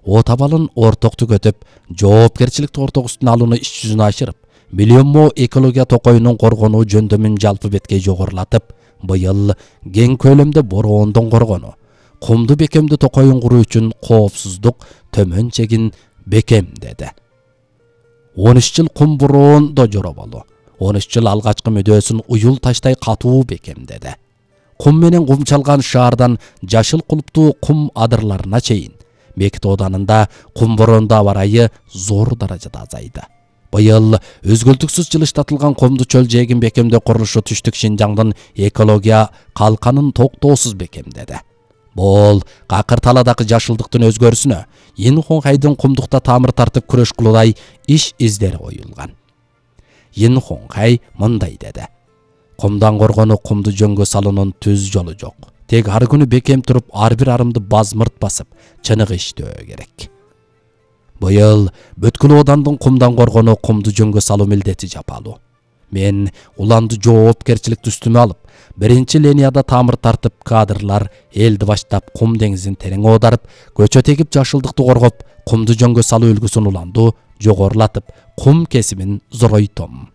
о табалын ортоктук өтүп, жоопкерчиликти ортогусун алууну иш жүзүнө ашырып, миллионмо экология токоюнун коргонуу жөндөмүн жалпы беткей жогорулатып, быйыл кең көлөмдө бороондон коргонуу, кумду бекемди токоюн куруу үчүн коопсуздук төмөн чегин бекемдеди. 13 жыл кум бороондо жороболу, 13 жыл алгачкы мүдөөсүн уюл таштай катуу бекемдеди. Кум менен кумчалган шаардан жашыл кулуптуу кум адырларына чейин Бекит Оданында кум бороондо аба ырайы зор даражада азайды. Быйыл өзгөлтүксүз жылыштатылган кумду чөл жээгин бекемдөө курулушу түштүк Шинжаңдын экология калканын токтоосуз бекемдеди. Бул какыр таладагы жашылдыктын өзгөрүүсүнө Инхонхайдын кумдукта тамыр тартып күрөш кылуудай иш издери коюлган. Инхонхай мындай деди: кумдан коргонуу кумду жөнгө салуунун түз жолу жок. Тек ар күнү бекем туруп, ар бир арымды базмырт басып, чыныгы иштөө керек. Быйыл бүткүл Одандын кумдан коргонуу, кумду жөнгө салуу милдети жапалуу. Мен уланды жоопкерчиликти үстүмө алып, биринчи линияда тамыр тартып, кадрлар элди баштап кум деңизин терең оодарып, көчө тегип жашылдыкты коргоп, кумду жөнгө салуу үлгүсүн уланду жогорулатып, кум кесимин зоройтом.